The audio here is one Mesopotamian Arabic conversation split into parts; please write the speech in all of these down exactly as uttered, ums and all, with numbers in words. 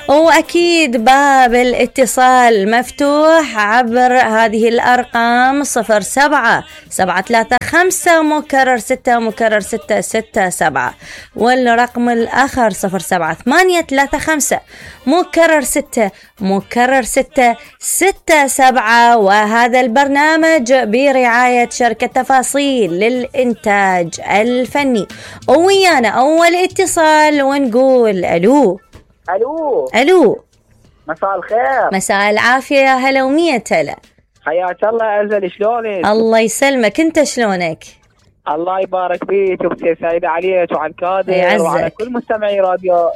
وأكيد باب الاتصال مفتوح عبر هذه الأرقام صفر سبعة سبعة ثلاثة خمسة مكرر ستة مكرر ستة ستة سبعة، والرقم الآخر صفر سبعة ثمانية ثلاثة خمسة مكرر ستة مكرر ستة ستة سبعة. وهذا البرنامج برعاية شركة تفاصيل للإنتاج الفني. ويانا أول اتصال ونقول ألو. الو الو مساء الخير. مساء العافيه، يا هلا ومية هلا. حياك الله أزل، شلونك؟ الله يسلمك، انت شلونك؟ الله يبارك فيك وبسير سعيدة عليك وعلى الكادر يعزك. وعلى كل مستمعي راديو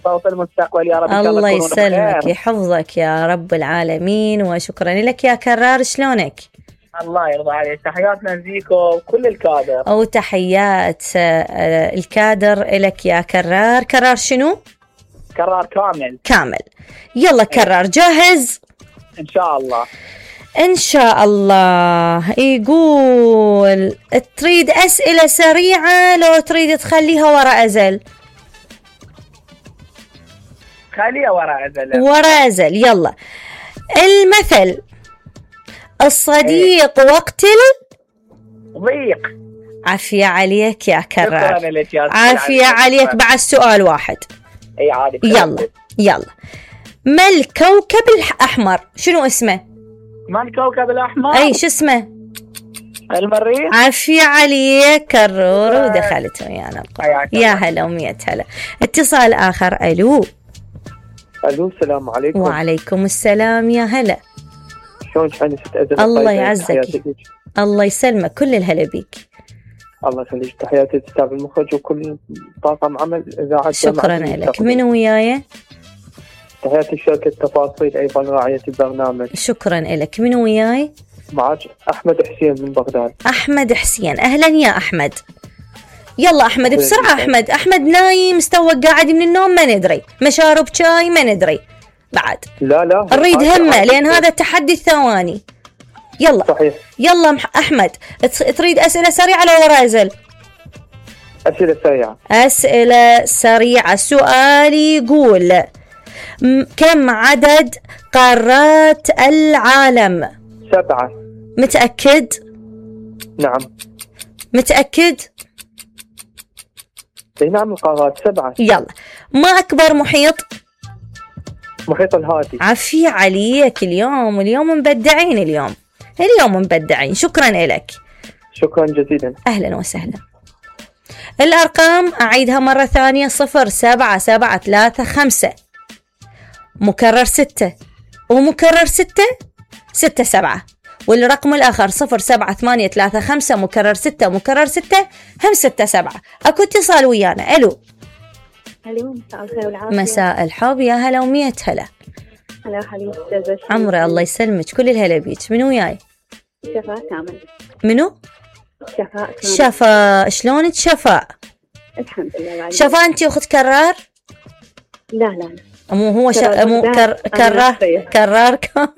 صوت المستقبل يا رب. إن شاء الله يسلمك بخير. يحفظك يا رب العالمين، وشكرا لك يا كرار. شلونك؟ الله يرضى عليك. تحياتنا لزيكو وكل الكادر. او تحيات الكادر لك يا كرار. كرار شنو؟ كرار كامل. كامل. يلا كرار، جاهز؟ ان شاء الله. ان شاء الله. يقول تريد اسئلة سريعة لو تريد تخليها وراء ازل؟ خليها وراء ازل. وراء ازل. يلا. المثل الصديق ايه. وقت ضيق. عافية عليك يا كرار. شكرا لك يا عافية عليك. بعد سؤال واحد. اي عادي. يلا يلا. ما الكوكب الأحمر؟ شنو اسمه؟ ما الكوكب الأحمر؟ أي شو اسمه؟ المريخ. عافية عليك كرور. آه. ودخلت ويانا القرار. يا هلا ومية هلا. اتصال آخر. ألو. ألو السلام عليكم. وعليكم السلام يا هلا. شلونك حنست أزل؟ الله يعزك. الله يسلمك، كل الهلا بيك. الله يخليك. تحياتي للأستاذ المخرج وكل طاقم عمل إذاعة. شكرا لك. من وياي؟ تحياتي لشركة تفاصيل أيضا راعية البرنامج. شكرا لك. من وياي؟ معك أحمد حسين من بغداد. أحمد حسين، أهلا يا أحمد. يلا أحمد بسرعة. أحمد أحمد نايم مستوى قاعد من النوم ما ندري، مشارب شاي ما ندري بعد. لا لا نريد همه لأن هذا تحدي الثواني. يلا صحيح. يلا أحمد، تريد أسئلة سريعة لو وراء أزل؟ أسئلة سريعة. أسئلة سريعة. سؤال يقول كم عدد قارات العالم؟ سبعة. متأكد؟ نعم. متأكد؟ نعم القارات سبعة. يلا. ما أكبر محيط؟ محيط الهادي. عافية عليك. اليوم اليوم مبدعين. اليوم اليوم مبدعين. شكرا لك. شكرا جزيلا. أهلا وسهلا. الأرقام أعيدها مرة ثانية. صفر سبعة سبعة ثلاثة خمسة مكرر ستة ومكرر ستة ستة سبعة، والرقم الآخر صفر سبعة ثمانية ثلاثة خمسة مكرر ستة مكرر ستة هم ستة سبعة. أكو اتصال ويانا. ألو. ألو مساء الخير والعافية. مساء الحب، يا هلا ومية هلا. هلا حبيبتي. عمري الله يسلمك، كل الهلا بيك. منو وياي؟ شفاء كامل. منو؟ شفاء كامل. شفاء. شلونك شفاء؟ الحمد لله. شفاء أنتي أخت كرار؟ لا لا مو هو شا... مو كر... كرار كرار كامل.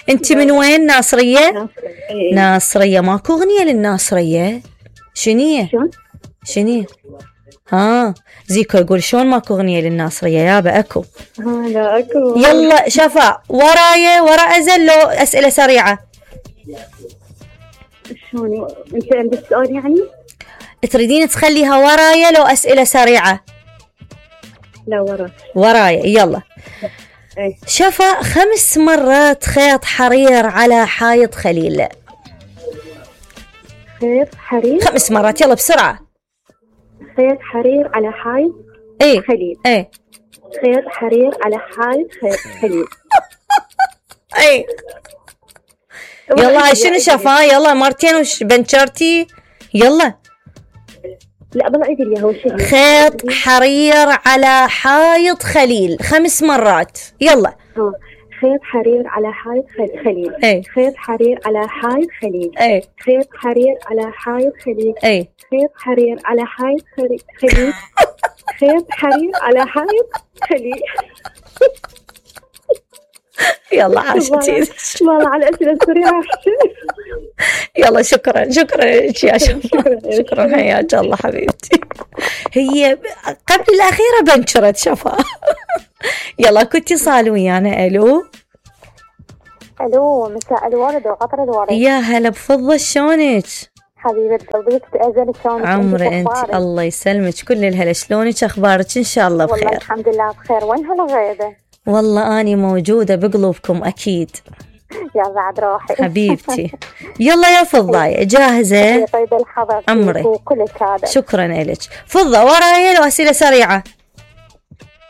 أنت من وين؟ ناصرية؟ ناصرية. ناصرية. ماكو أغنية للناصرية؟ شنية؟ شلون؟ شنية؟ ها زيكو يقول شلون ماكو أغنية للناصرية؟ يابا أكو. ها لا أكو. يلا شفاء ورايا ورا أزل لو أسئلة سريعة. شلون أنت عندك سؤال يعني؟ تريدين تخليها ورايا لو أسئلة سريعة؟ لا ورا. ورايا. يلا. ايه. شفاء خمس مرات خيط حرير على حائط خليل. خيط حرير خمس مرات. يلا بسرعة. خيط حرير على حائط ايه خليل. ايه. خيط حرير على حائط خليل. ايه. يلا شنو شفاء؟ يلا مرتين وش بنشرتي. يلا. لا بالله عيدي لي هو شيء. خيط حرير على حائط خليل خمس مرات. يلا. اه خيط حرير على حائط خليل. ايه. خيط حرير على حائط خليل. ايه. خيط حرير على حائط خليل. ايه. خيط حرير على حائط خليل. خيط حرير على حائط خليل. يلا عاشتي. والله على الأسئلة السريعة. يلا شكرا شكرا لك يا شفاء. شكرا حياك الله حبيبتي. هي قبل الأخيرة بنشرت شفاء. يلا اكو اتصال ويانا. الو الو، مساء الورد وقطر الورد. يا هلا بفضة، شلونك؟ حبيبة قلبي تأذن شلونك؟ عمري انت، الله يسلمك، كل الهلا، شلونك اخبارك؟ ان شاء الله بخير. والله الحمد لله بخير. وين هالغيبة؟ والله اني موجودة بقلوبكم اكيد. يا بعد روحي حبيبتي. يلا يا فضاية، جاهزة؟ طيب الحظ عمري وكلك هذا. شكرا لك. فضة ورايا لو اسئلة سريعة؟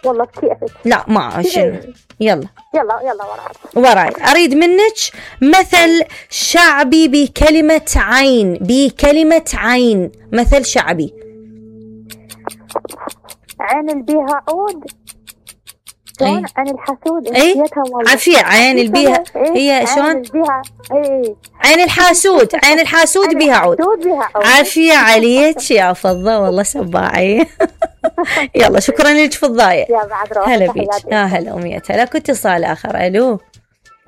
والله بكيفك. لا ما عشان. يلا يلا يلا وراك. وراي. اريد منك مثل شعبي بكلمة عين، بكلمة عين، مثل شعبي. عين اللي بيها عود. شلون؟ عين الحسود. اي عافية. عين اللي بيها هي شلون؟ عين بيها اي عين الحاسود. عين الحاسود بيها عود. عافية عليك يا فضة، والله سباعي. يلا شكرا لك فضاية. يا بعد روحك. هلا بيك. يا هلا ومية هلا. كنت اتصال اخر. الو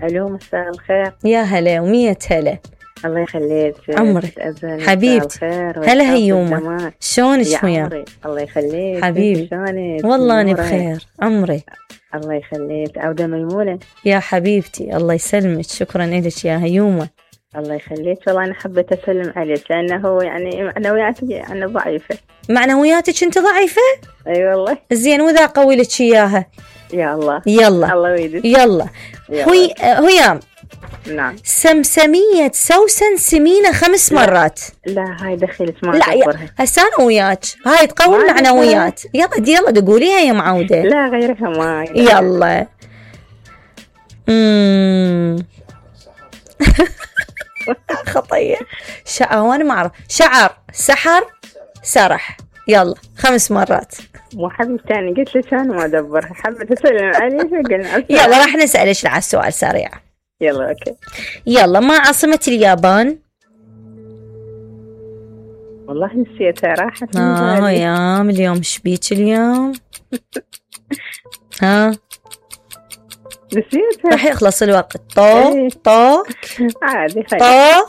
الو، مساء الخير. يا هلا ومية هلا. الله يخليك عمري حبيبتي. هلا هيومة، شلونك وياك؟ الله يخليك حبيبي. شلونك؟ والله أنا بخير. عمري الله يخليك. عودة ميمونة يا حبيبتي، الله يسلمك. شكرا لك يا هيومة. الله يخليك. والله أنا حبيت أسلم عليك لأنه يعني معنوياتي أنا ضعيفة. معنوياتك أنت ضعيفة؟ أي أيوة والله. زين، وإذا قوي لك إياها؟ يا الله. يلا الله ويدك. يلا. هي هيام. نعم. سمسمية سوسن سمينة خمس لا. مرات. لا هاي دخلت ما لا يا هسه انا وياك، هاي تقوي المعنويات. يلا دي يلا تقوليها يا معودة. لا غيرها ما. يلا. اممم خطية. شعر، وانا ما اعرف. شعر، سحر، سرح. يلا خمس مرات. مو حبيبتي انا قلت لك انا ما ادبرها، حبيت اسلم عليك قلنا. يلا راح نسألك على السؤال سريع. يلا اوكي. يلا، ما عاصمة اليابان؟ والله نسيتها، راحت. اه يا اليوم شبيك اليوم؟ ها نسيتها. راح يخلص الوقت. طو طو عادي خير. طو.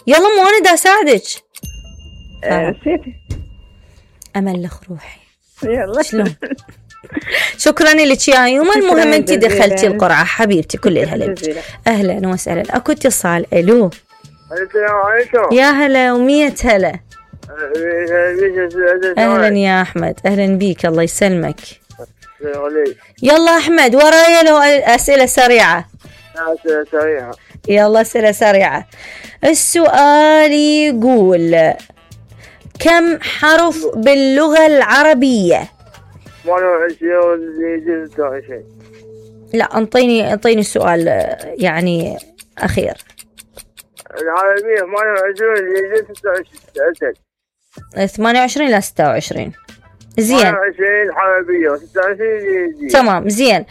يلا مو انا دا اساعدك. نسيتها. املخ روحي. يلا شلون؟ شكرا لك يا يوما. المهم انت دخلتي القرعة حبيبتي. كل الهلا. اهلا وسهلا. اكو اتصال. الو السلام عليكم. يا هلا ومية هلا. اهلا يا احمد. اهلا بيك، الله يسلمك. يلا احمد ورايا لو اسئلة سريعة. اسئلة سريعة. يلا اسئلة سريعة. السؤال يقول كم حرف باللغة العربية؟ ثمانية وعشرين ستة وعشرين. لا انطيني انطيني سؤال يعني اخير. العربية ثمانية وعشرين ستة وعشرين. ثمانية وعشرين لا ستة وعشرين. زين. ثمانية وعشرين عربية وستة وعشرين. تمام زين.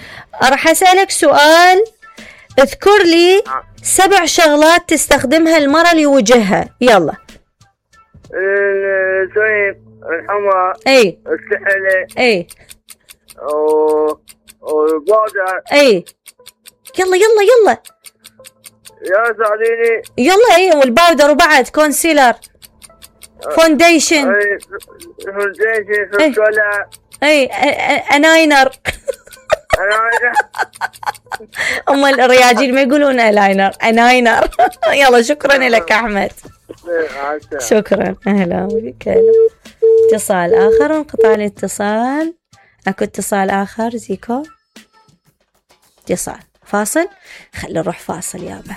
راح اسألك سؤال. اذكر لي سبع شغلات تستخدمها المرأة لوجهها. يلا. السويق، الحمى، اي السحلة، اي والبودر. اي يلا يلا يلا يا ساعديني. يلا. اي والباودر وبعد كونسيلر، فونديشن. اي فونديشن، فوسكولا. اي اناينر. اناينر. هم الرياجيل ما يقولون الاينر، اناينر. يلا شكرا لك احمد. شكرا. اهلا بك. اتصال اخر. انقطع الاتصال. اكو اتصال اخر. زيكو اتصال. فاصل. خلي نروح فاصل يابا.